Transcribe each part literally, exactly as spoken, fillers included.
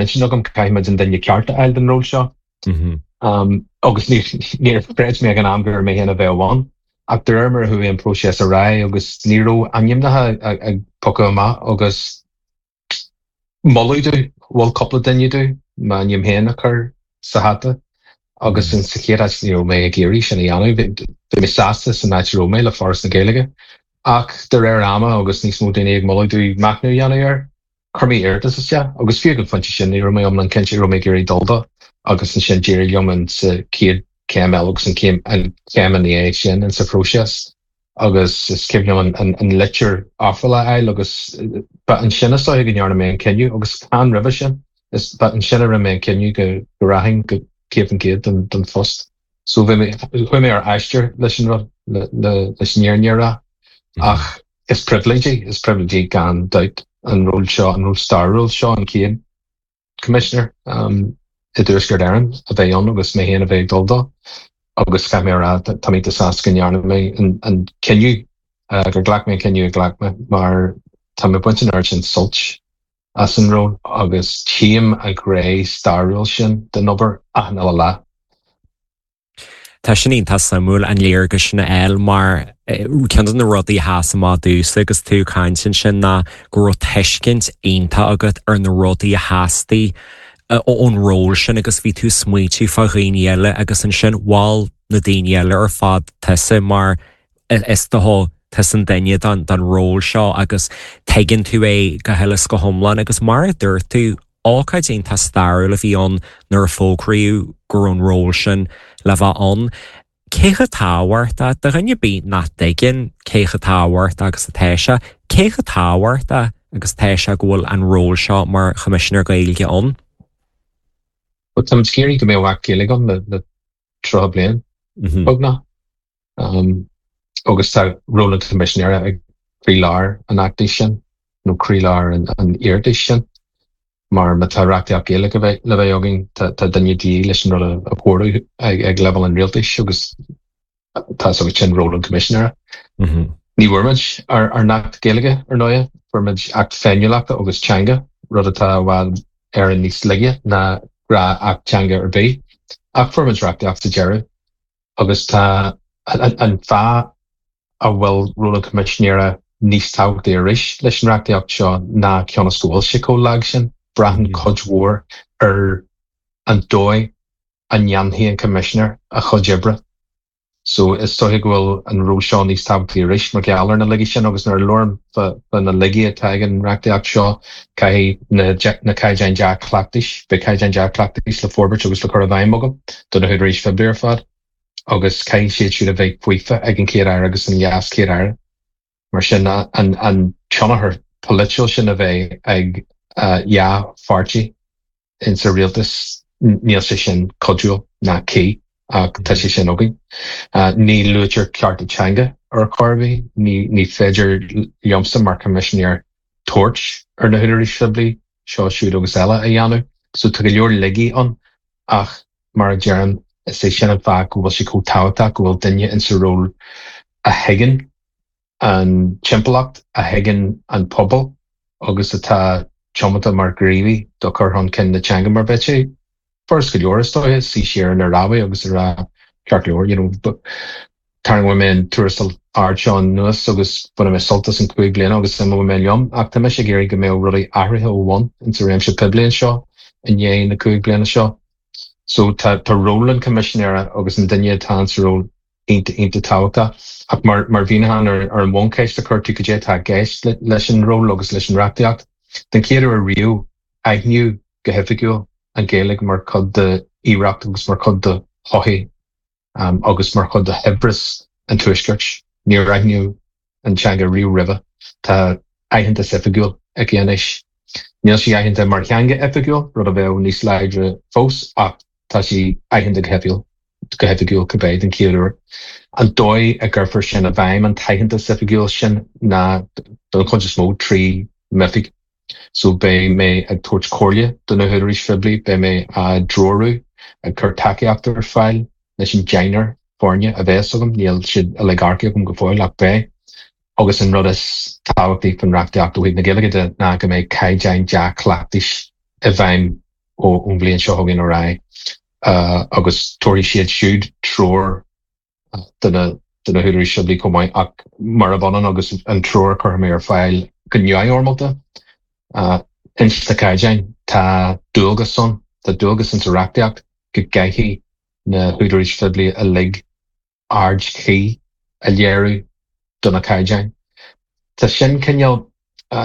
intinn agam caithfidh muid an duine ceart a fháil don ról seo. Um, agus níor chreid mé ag an am gur mé féin a bheadh ann. Ach de réir mar a chuaigh an próiseas ar aghaidh agus ní raibh ainmneacha ag piocadh amach agus moladh domh mhol cúpla duine domh m'ainm féin a chur sa hata agus in sa chéad áit ní raibh mé ag iarraidh sin a dhéanamh. Bhí mé sásta san áit a raibh mé le Foras na Gaeilge. Ach de réir ama agus níos mó daoine ag moladh domh machnamh a dhéanamh air, chuir mé iarratas isteach agus fiú ag an phointe sin ní raibh mé iomlán cinnte raibh mé ag iarraidh dul dó agus ansin d'éirigh liom an sa chéad chéim eile agus an chéim an chéim ina dhiaidh sin in sa phróiseas agus is cuimhin liom an, an, an litir ofrála a fháil agus ba ansin is dóiche go ndearna mé an cinneadh agus chan roimhe sin is ba ansin a rinne mé an cinneadh go go rachainn go céad faoin gcéad don, don phost. So bhí mé chuaigh mé ar aistear leis an rud le, le, leis an fhírinne a rá ach is pribhléid é is pribhléid é gan dabht an ról seo an ról stairiúil seo an chéad commissioner um, i dTuaisceart Éireann a bheith ann agus mé féin a bheith ag dul dó agus caithfidh mé a rá tá mé sásta go ndearna mé an, an cinneadh uh, gur ghlac mé an cinneadh a ghlac mé mar tá mé ag baint an oiread sin sult as an ról agus tchím an ghné stairiúil sin den obair achan uile lá. Tá sin iontach suimiúil an léargas sin a fháil mar ceann de na rudaí a sheas amach domhsa agus tú ag caint ansin ná go raibh tuiscint iontach agat ar na rudaí a theastaigh ón ról sin agus bhí tú smaointiú fá dhaoine eile agus ansin mhol na daoine eile ar fad tusa mar is dócha tusa an duine don don ról seo agus tuigeann tú é go huile is go hiomlán agus mar a dúirt tú ócáid iontach stairiúil a bhí ann nuair a fógraíodh go raibh an ról sin le bheith ann. Cé chomh tábhachtach do dhuine ar bith nach dtuigeann cé chomh tábhachtach agus atá sé, cé chomh tábhachtach agus atá sé go bhfuil an ról seo mar Choimisinéir Gaeilge ann? Well, tá ag iarraidh go mbeadh Acht Gaeilge ann le, le tríocha bliain beagnach. Um, agus tá ról an Choimisinéara ag croílár an fheachtais sin nó croílár an, an iarratais sin. Mar má tá reachtaíocht Gaeilge le bheith againn tá duine de dhíth leis an rud a chóiriú ag, ag leibhéal an rialtais agus tá sin ról an Choimisinéara. Ní bhfuair muid ár, ár nAcht Gaeilge ar ndóigh, fuair muid Acht Féiniúlachta agus Teanga, rud atá i bhfad Éireann níos laige ná gnáth-Acht Teanga ar bith, ach fuair muid reachtaíocht sa deireadh agus tá an, an fáth a bhfuil ról an Choimisinéara níos tábhachtaí arís leis an reachtaíocht seo ná cionn is go bhfuil sé chomh lag sin, braitheann cuid mhór ar an dóigh a ndéanfaidh an Coimisinéir a chuid oibre. So is dóiche go bhfuil an ról seo níos tábhachtaí arís mar gheall ar na laigí sin agus nuair a labhraím fá na laigí atá ag an reachtaíocht seo caithfidh na, na caighdeáin dea-chleachtais, beidh caighdeáin dea-chleachtais le forbairt agus le cur i bhfeidhm agam do na húdaráis phoiblí ar fad agus caithfidh siad siúd a bheith faofa ag an Chéad Aire agus an Leas Chéad Aire. Mar sin an, an tionchar polaitiúil sin a bheith ag uh, dhá pháirtí in sa rialtas níl sé sin cuidiúil ná cuí ach tá sé sin againn. Uh, ní luaitear cearta teanga ar chor ar bith, ní, ní féidir liomsa mar Choimisinéir tabhairt ar na húdaráis phoiblí seo siúd agus eile a dhéanamh, so tá go leor laigí ann ach mar a deirim is é sin an fáth go bhfuil sé chomh tábhachtach go bhfuil duine in sa ról a thuigeann an timpeallacht, a thuigeann an pobal agus atá tiomanta mar ghníomhaí do chur chun cinn na teanga mar bheadh sé furast go leor is dóiche suí siar ar na rámhaí agus a rá ceart go leor you know, tarraingeoidh mé an tuarastal ard seo anuas agus bainfidh mé sult as an cúig bliana agus imeoidh mé liom ach tá mise ag iarraidh go mbeadh rudaí athraithe ó bhun in sa réimse poiblí anseo i ndiaidh na cúig bliana seo. So tá tá ról an Choimisinéara agus an duine atá sa ról iontach iontach tábhachtach ach mar mar mhíniúchán ar, ar an bhuncheist a chuir tú cad é atá i gceist leis an ról agus leis an reachtaíocht. Den chéad uair riamh aithníodh go hoifigiúil an Ghaeilge mar chuid d'oidhreacht agus mar chuid de shochaí um, agus mar chuid de shaibhreas an tuaiscirt. Níor aithníodh an teanga riamh roimhe. Tá aitheantas oifigiúil aici anois. Níl sí aitheanta mar theanga oifigiúil, rud a bheadh níos láidre fós ach tá sí aitheanta go hoifigiúil go hoifigiúil cibé den chéad uair. An dóigh a gcuirfear sin i bhfeidhm an t-aitheantas oifigiúil sin ná don chuid is mó trí m'oifig. So beidh mé ag tabhairt comhairle do na húdaráis phoiblí, beidh mé á dtreorú ag cur tacaíocht ar fáil leis an deichniúr foirne a bheas agam, níl siad uilig earcaithe agam go fóill ach beidh. Agus an rud is tábhachtaí faoin reachtaíocht ó thaobh na Gaeilge de ná go mbeidh caighdeáin dea-chleachtais i bhfeidhm ón bhliain seo chugainn ar aghaidh agus tabharfaidh siad siúd treoir do na do na húdaráis phoiblí chomh maith ach murab ionann agus an treoir a chuirfidh mé ar fáil go neamhfhoirmeálta ins na caighdeáin tá dualgas ann, tá dualgas insa reachtaíocht go gcaithfidh na húdaráis phoiblí uilig aird chuí a léiriú do na caighdeáin. Tá sin cineál,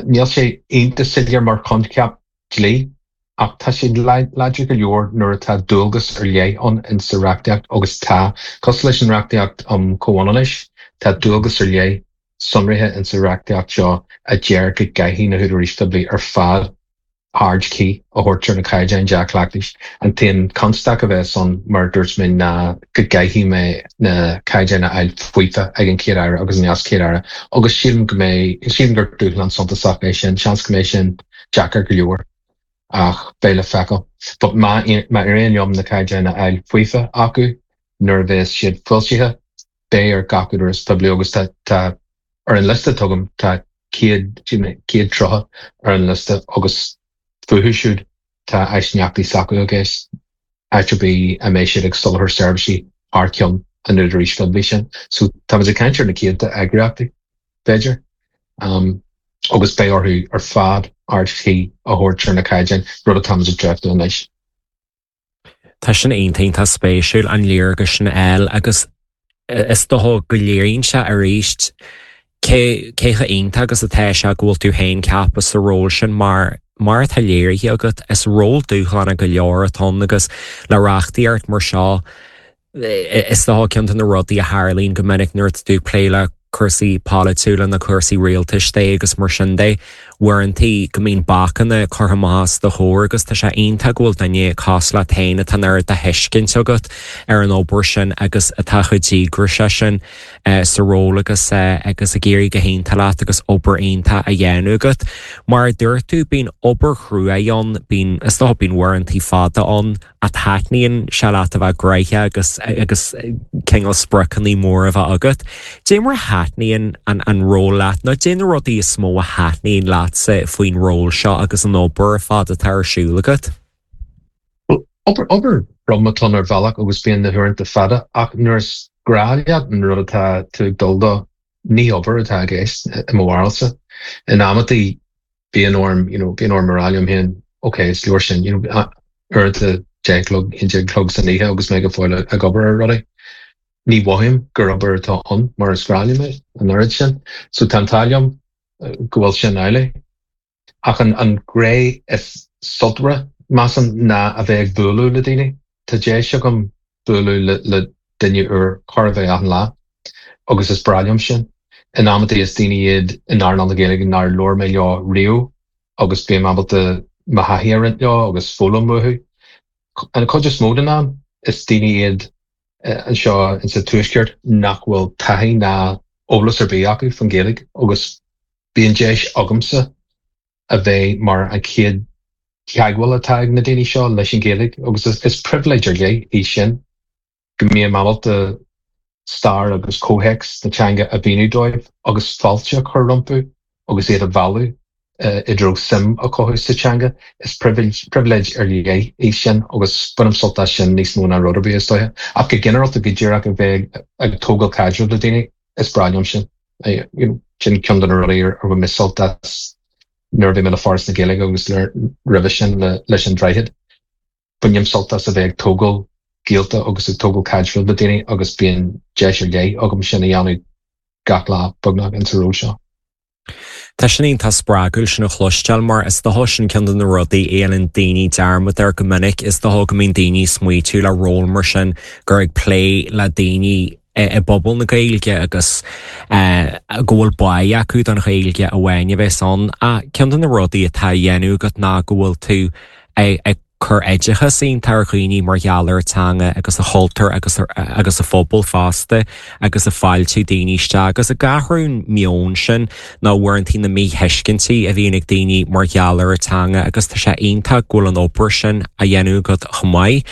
níl sé iontach soiléir mar choincheap dlí ach tá sé láidir go leor nuair atá dualgas ar leith ann insa reachtaíocht agus tá, cosúil leis an reachtaíocht um chomhionannais, tá dualgas ar leith sonraithe insa reachtaíocht seo a deir go gcaithfidh na húdaráis phoiblí ar fad aird chuí a thabhairt ar na caighdeáin dea-chleachtais. An t-aon chonstaic a bheas ann, mar a dúirt mé, ná go gcaithfidh mé na caighdeáin a fháil faofa ag an Chéad-Aire agus an Leas-Chéad-Aire agus sílim go mbeidh, sílim gur dúshlán suntasach é sin, seans go mbeidh sin deacair go leor ach beidh le feiceáil. But má má éiríonn liom na caighdeáin a fháil faofa acu nuair a bheas siad foilsithe, beidh ar gach údarás poiblí agus tá tá ar an liosta atá agam tá céad céad tríocha ar an liosta agus fúthu siúd tá aighneachtaí s'acu i gceist, áit ar bith a mbeidh siad ag soláthar seirbhísí thar ceann an údaráis phoiblí sin. So táimid ag caint ar na céadta eagraíochtaí, b'fhéidir, um, agus beidh orthu ar fad aird chuí a thabhairt ar na caighdeáin, rud atáimid ag dréachtú anois. Tá sin iontach spéisiúil an léargas sin a fháil agus is dócha go léiríonn sé arís cé cé chomh iontach agus atá sé go bhfuil tú féin ceaptha sa ról sin mar mar atá léirithe agat is ról dúshlánach go leor atá ann agus le reachtaíocht mar seo is dócha ceann de na rudaí a tharlaíonn go minic nuair atá tú ag plé le cúrsaí polaitiúla na cúrsaí rialtais de agus mar sin de, uaireanta go mbíonn bacanna curtha amach os do chomhair agus tá sé iontach go bhfuil duine cosúil leat féin atá an oiread de thuiscint agat ar an obair sin agus atá chomh díograiseach sin sa ról agus agus ag éirí go hiontach leat agus obair iontach á dhéanamh agat. Mar a dúirt tú bíonn obair chrua ann, bíonn is dócha bíonn uaireanta fada ann a taitníonn sé leat a bheith gnoitheach agus agus cineál spriocanna móra a bheith agat. Dé mar a thaitníonn an an ról leat nó dé na rudaí is mó a thaitníonn leatsa faoin ról seo agus an obair ar fad atá ar siúl agat? Obair obair throm atá ann ar bhealach agus bíonn na huaireanta fada ach nuair is grá leat an rud atá tú ag dul dó, ní obair atá i gceist i mo bharúilsa. In amantaí bíonn orm you know, bíonn orm a rá liom féin ok is leor sin you know, uaireanta deich a chlog, a haon déag a chlog san oíche agus mé go fóill ag obair ar rudaí. Ní mhothaím gur obair atá ann mar is grá liom é an oiread sin. So tá an t-ádh liom go bhfuil sin amhlaidh. Ach an an ghné is sultmhaire measaim ná a bheith ag bualadh le daoine. Tá deis agam bualadh le le duine úr chóir a bheith achan lá agus is breá liom sin. In amantaí is daoine iad in earnáil na Gaeilge nár labhair mé leo riamh agus bím ábalta mo thaithí a roinnt leo agus foghlaim uathu. An chuid is mó den am is daoine iad anseo insa Tuaisceart nach bhfuil taithí ná eolas ar bith acu faoin Ghaeilge agus bíonn deis agamsa a bheith mar an chéad teagmháil atá ag na daoine seo leis an Ghaeilge agus is pribhléid ar leith í sin go mbím ábalta stair agus comhthéacs na teanga a mhíniú dóibh agus fáilte a chur rompu agus iad a mhealladh i dtreo suim a chothú sa teanga. Is pribhléid ar leith í sin agus bainim sult as sin níos mó ná rud ar bith is dóiche. Ach go ginearálta go díreach a bheith ag tógáil caidreamh le daoine, is breá liom sin. Sin ceann de na rudaí ar bhain mé sult as nuair a bhí mé le Foras na Gaeilge agus roimhe sin leis an Droichead. Bainim sult as a bheith ag tógáil gaolta agus ag tógáil caidreamh le daoine agus bíonn deis ar leith agam sin a dhéanamh gach lá beagnach insa ról seo. Tá sin iontach spreagúil sin a chloisteáil mar is dócha sin ceann de na rudaí a dhéanann daoine dearmad air go minic is dócha go mbíonn daoine ag smaoitiú le ról mar sin gur ag plé le daoine i bpobal na Gaeilge agus go bhfuil bá acu don Ghaeilge amháin a bheas ann. Ach ceann de na rudaí atá á dhéanamh agat ná go bhfuil tú ag cur oideachas iontach ar dhaoine mar gheall ar a teanga agus a chultúr agus agus a phobal fosta agus ag fáiltiú daoine isteach agus ag athrú an meon sin nó uaireanta na míthuiscintí a bhíonn ag daoine mar gheall ar a teanga agus tá sé iontach go bhfuil an obair sin á dhéanamh agat chomh maith.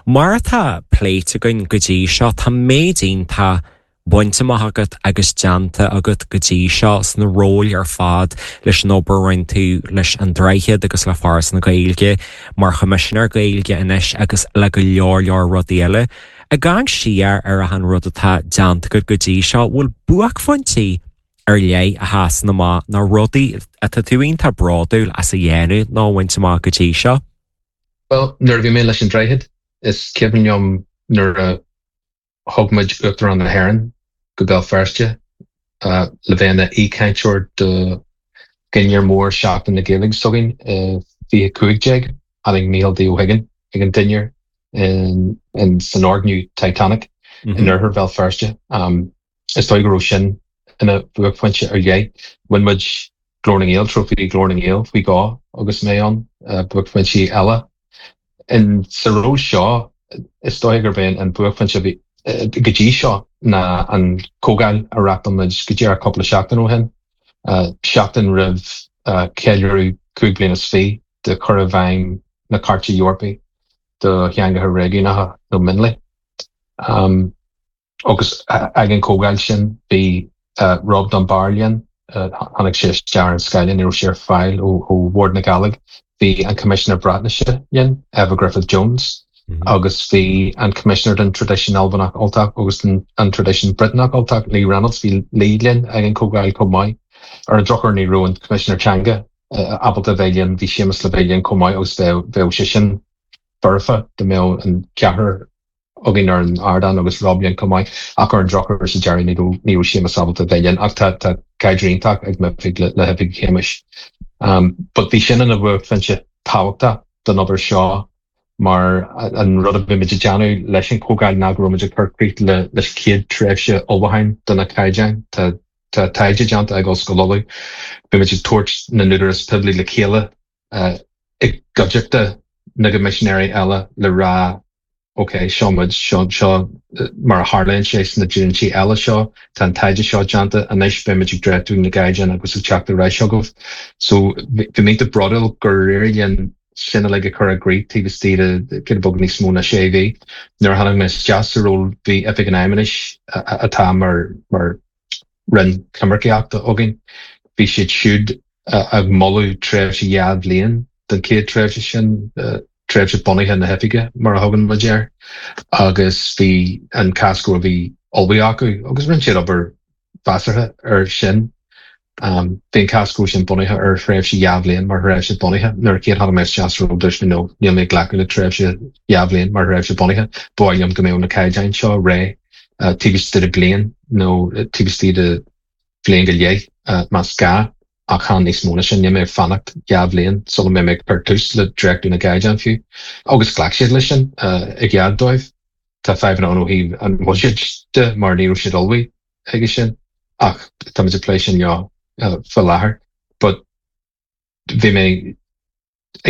Mar atá pléite againn go dtí seo tá méid iontach bainte amach agat agus déanta agat go dtí seo sna róil ar fad leis an obair a rinne tú leis an Droichead agus le Foras na Gaeilge mar Choimisinéir Gaeilge anois agus le go leor leor rudaí eile. Ag amharc siar ar achan rud atá déanta agat go dtí seo, bhfuil buaicphointí ar leith a sheasann amach nó rudaí atá tú iontach bródúil as a dhéanamh nó a bhaint amach go dtí seo? Bhuel, nuair a bhí mé leis an Droichead, is cuimhin liom nuair a thug muid Uachtarán na hÉireann go Béal Feirste le bheith ina aoichainteoir do dhinnéar mór Seachtain na Gaeilge s'againn i fiche cúig déag. Tháinig Mícheál D. Ó hUiginn ag an dinnéar in san fhoirgneamh Titanic in oirthear Bhéal Feirste. Is dóigh go raibh sin ina bhuaicphointe ar leith. Bhain muid Glór na nGael, Trófaí Ghlór na nGael faoi dhó agus mé ann, buaicphointí eile. In sa ról seo, is dóigh gurb é an buaicphointe a bhí go dtí seo ná an chomhdháil a reáchtáil muid go díreach cúpla seachtain ó shin, seachtain roimh cheiliúradh cúig bliana is fiche de chur i bhfeidhm na Cairte Eorpaí do Theangacha Réigiúnacha nó Mionlaigh. Agus ag an chomhdháil sin bhí Rob Dunbar linn, tháinig sé isteach ar an scáileán, ní raibh sé ar fáil ó Bhord na Gàidhlig. Bhí an Coimisinéir Breatnaise linn, Efa Gruffudd Jones, agus bhí an Coimisinéir don Traidisiún Albanach Ultach agus an Traidisiún Briotanach Ultach, Lee Reynolds, bhí Lee linn ag an chomhdháil chomh maith. Ar an drochuair ní raibh an Coimisinéir Teanga ábalta bheith linn, bhí Séamus le bheith linn chomh maith agus bheadh sé sin foirfe dá mbeadh an ceathrar againn ar an ardán agus Rob linn chomh maith, ach ar an drochuair sa deireadh ní raibh ní raibh Séamus ábalta bheith linn ach tá tá caidreamh iontach ag m'oifig le le hoifig Shéamuis. Um, but bhí sin ina bhuaicphointe tábhachtach don obair seo mar an rud a bhí muid ag déanamh leis an chomhdháil ná go raibh muid ag cur críoch le leis chéad tréimhse ullmhúcháin do na caighdeáin. Tá tá taighde déanta ag Ollscoil Uladh. Bhí muid ag tabhairt na n-údarás poiblí le chéile uh, i gcuideachta na gcoimisinéirí eile le rá ok, seo muid seo seo mar a tharlaíonn sé sna dlínsí eile seo, tá an taighde seo déanta anois beimid ag dréachtú na gcaighdeán agus ag teacht ar ais chugaibh. So bhí mé bródúil gur éirigh linn sin uilig a chur i gcrích taobh istigh de giota beag níos mó ná sé mhí. Nuair a tháinig mé isteach sa ról bhí Oifig an Fheidhmeannais atá mar mar roinn coimircíochta againn. Bhí siad siúd ag moladh tréimhse dhá bhliain den chéad tréimhse sin, tréimhse bunaithe na hoifige mar a thugann muid air, agus bhí an cás go bhí ullmhaithe acu agus rinne siad obair mheasartha ar sin. Um, bhí an cás go sin bunaithe ar thréimhse dhá bhliain mar thréimhse bunaithe. Nuair a chéad tháinig mé isteach sa ról dúirt mé no, níl mé ag glacadh le tréimhse dhá bhliain mar thréimhse bunaithe. Ba mhaith liom go mbeadh na caighdeáin seo réidh uh, taobh istigh de bliain nó taobh istigh de bhliain go leith uh, más gá ach chan níos mó ná sin níl mé ag fanacht dhá bhliain sula mbeidh mé ag cur tús le dréachtú na gcaighdeán fiú. Agus ghlac siad leis sin uh, i gcead dóibh. Tá fadhbanna ann ó thaobh an bhuiséid de mar ní raibh siad ullmhaithe chuige sin ach táimid ag plé sin leo uh, faoi láthair. But bhí mé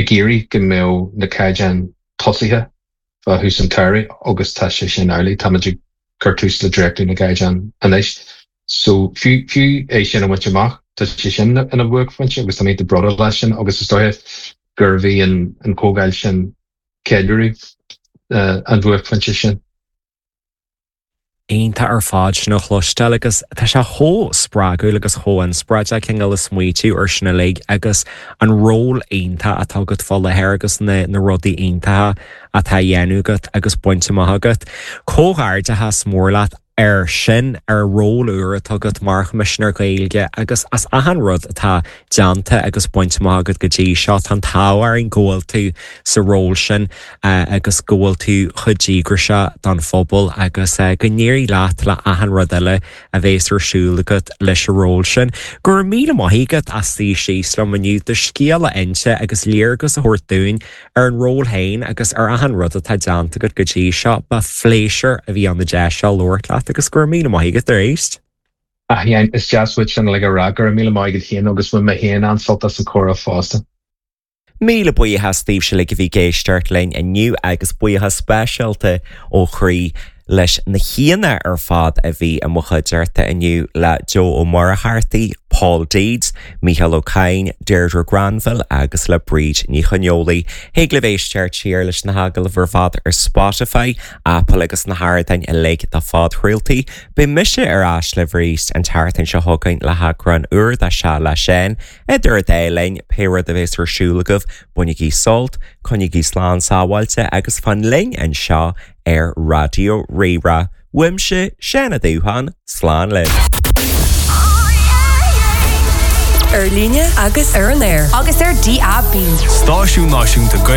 ag iarraidh go mbeadh na caighdeáin tosaithe fá thús an tsamhraidh agus tá sé sin amhlaidh táimid ag cur tús le dréachtú na gcaighdeán anois. So fiú fiú é sin a bhaint amach tá sé sin ina bhuaicphointe agus tá mé bródúil leis sin agus is dóigh gur bhí an an chomhdháil sin ceiliúradh uh, an bhuaicphointe sin. Iontach ar fad sin a chloisteáil agus tá sé chomh spreagúil agus chomh inspioráideach cineál ag smaoitiú ar sin uilig agus an ról iontach atá agat fá láthair agus na, na rudaí iontacha atá dhéanamh agat agus bainte amach agat. Comhghairdeachas mór leat ar sin ar ról úr atá agat mar Choimisinéir Gaeilge agus as achan rud atá déanta agus bainte amach agat go dtí seo tá an t-ádh orainn go bhfuil tú sa ról sin uh, agus go bhfuil tú chomh díograiseach don phobal agus uh, go n-éirí leat le achan rud eile a bheas ar siúl agat leis an ról sin. Gur míle maith agat as suí síos liom inniu do scéal a inse agus léargas a thabhairt dúinn ar an ról féin agus ar achan rud atá déanta agat go dtí seo ba phléisiúr a bhí ann an deis seo labhairt leat agus gur míle maith agat arís. Ah, is deas duit sin le rá gur míle maith agat féin agus bhain mé féin an-sult as an chomhrá fosta. Míle buíochas daoibhse uilig a bhí ag éisteacht linn inniu agus buíochas speisialta ó chroí leis na haíonna ar fad a bhí i mo chuideachta inniu le Joe Ó Muircheartaigh, Paul Deeds, Micheál Ó Cadhain, Deirdre Granville agus le Bríd Ní Choineolaí. Thig libh éisteacht siar leis na hagallaimh ar fad ar Spotify, Apple agus na hardáin uilig do phodchraoltaí. Beidh mise ar ais libh arís an tseachtain seo chugainn le heagrán úr de Sea le Seán, idir an dá linn pé rud a bheas ar siúl agaibh, bainigí sult, coinnígí slán sábháilte agus fan linn anseo ar Raidió Rí-Rá. Uaimse Seán Ó Dúcháin, slán libh. Ar líne agus ar an aer. Agus ar DAB. Stáisiún Náisiúnta Gaeilge